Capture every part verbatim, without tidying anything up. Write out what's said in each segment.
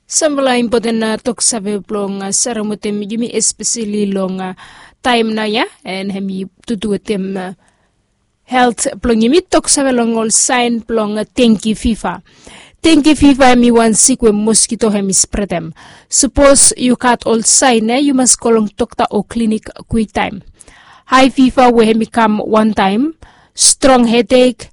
Sampela impoten toksave blong serem wetem yumi espeseli long taem nao ya, en hem i tutu wetem helt blong yumi toksave long ol saen blong tenki fiva. Tenki fiva hem i wan sik we moskito hem i spretem. Sapos yu gat ol saen ya yu mas go long dokta o klinik kwiktaem. Hae fiva we hem i kam wantaem, strong hedek,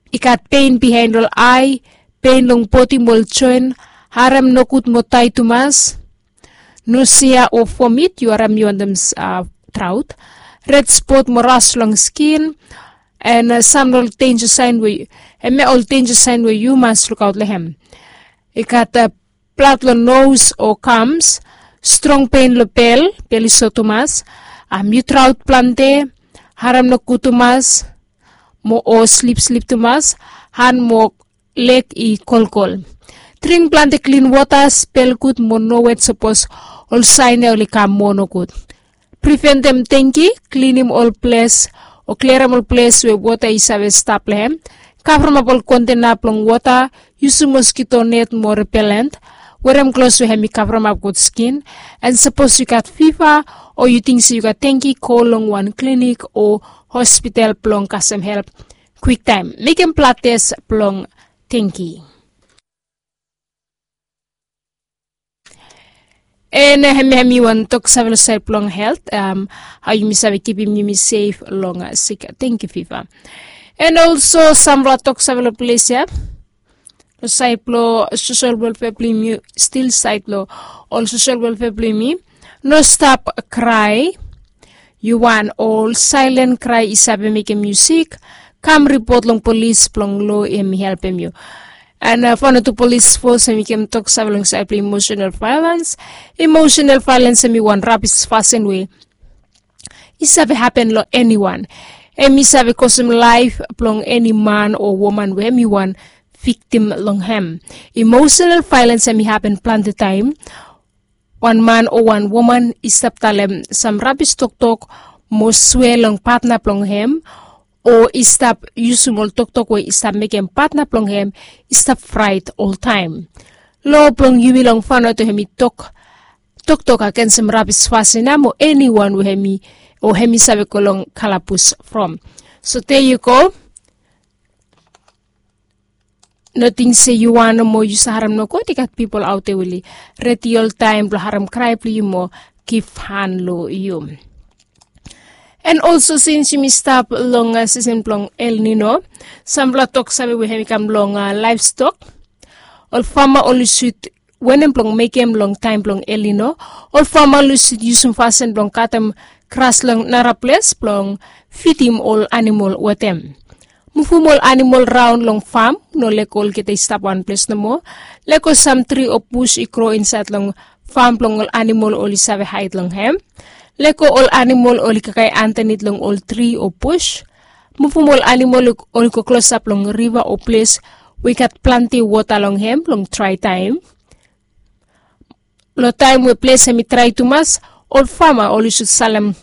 i gat pen bihaen long ae, pen long bodi mo ol joen, harem nogud mo dae tumas, nosea o vomit yu harem yu wantem traot, red spot mo ras long skin. En sam long ol denja saen we, hemia ol denja saen we yu mas lukaot long hem. I gat blad long nos o gams, strong pen long bel, bel i so tumas, yu traot plante, harem nogud tumas, mo o slipslip tumas, han mo leg i kolkol. Dring plante klin wota, spel gud mo no wet sapos ol saen ya oli kam moa nogud. Priventem denki, klinim ol ples o kliarem ol ples we wota i save stap long hem. Kavremap ol kontena blong wota, yusum moskito net mo repelent, werem klos we hem i kavremap gud skin. En sapos yu gat fiva o yu ting se yu gat denki, go long wan klinik o hospital blong kasem help kwiktaem. Mekem blad tes blong denki. En hemia hem i wan toksave long saed blong helt, hao yumi save kipim yumi sef long sik denki fiva. En olso sampela toksave long ples ya, long saed blong sosel welfea blong yumi, stil saed long ol sosel welfea blong yumi. No stap krae. Yu wan ol saelen krae i save mekem yu sik, kam ripot long polis blong lo hem i helpem yu. En Vanuatu Polis Fos hem i givim toksave long saed blong emosenal vaelens. Emosenal vaelens hem i wan rabis fasin we i save hapen long eniwan. Hem i save kosem laef blong eni man o woman we hem i wan viktim long hem. Emosenal vaelens hem i hapen plante taem. Wan man o wan woman i stap talem sam rabis toktok mo swea long patna blong hem, o i stap yusum ol toktok we i stap mekem patna blong hem i stap fraet oltaem. Lo blong yumi long Vanuatu hem i tok toktok agensem rabis fasin ya mo eniwan we hem i o hem i save go long kalabus from. So there you go. No ting se yu wan nomo yu save harem nogut, i gat pipol aot ya we oli redi oltaem blong harem krae blong yu mo givhan long yu. En olso sins yumi stap long sisen blong El Nino, sampela toksave we hem i kam long laevstok. Ol fama oli sud wanem blong mekem long taem blong El Nino. Ol fama oli sud yusum fasin blong katem gras long nara ples blong fidim ol anamol wetem. Muvum ol anamol raon long fam, no lego olgeta i stap wan ples nomo. Lego sam tri o bus i gro insaed long fam blong ol anamol oli save haed long hem. Lego ol anamol oli kakae andanit long ol tri o bus. Muvum ol anamol oli go klosap long riva o ples we i gat plante wota long hem long drae taem. Long taem we ples hem i drae tumas, ol fama oli sud salem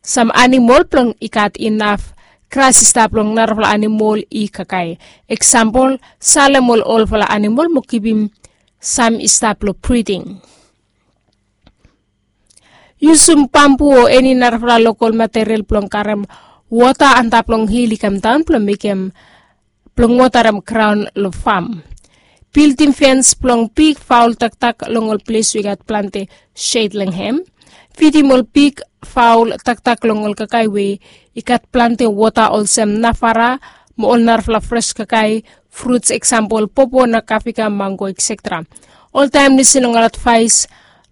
sam anamol blong i gat inaf gras i stap long narafala anamol i kakae. Eksampol, salem ol olfala anamol mo givim sam i stap long briding. Yusum bambu o eni narafala lokol material blong karem wota antap long hil i kamdaon blong mekem blong wotarem graon long fam. Bildim fens blong big faol taktak long ol ples we i gat plante shed long hem. Fidim ol big faol taktak long ol kakae we i gat plante wota olsem navara mo ol narafala fres kakae, fruts eksampol popo na kafika, mango, etsetera. Oltaem lisin long ol advaes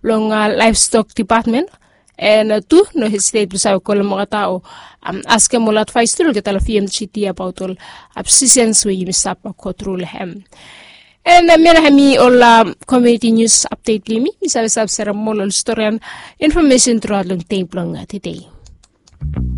long laevstok dipatmen. En tu no hesitet blong save kolem olgeta o askem ol advaes tu long olgeta long V M G T abaot ol posisens we yumi stap go tru long hem. En hemia nao hem i ol komuniti nius apdet blong yumi. Mi save stap serem moa ol storian infomesen truaot long dei blong tede.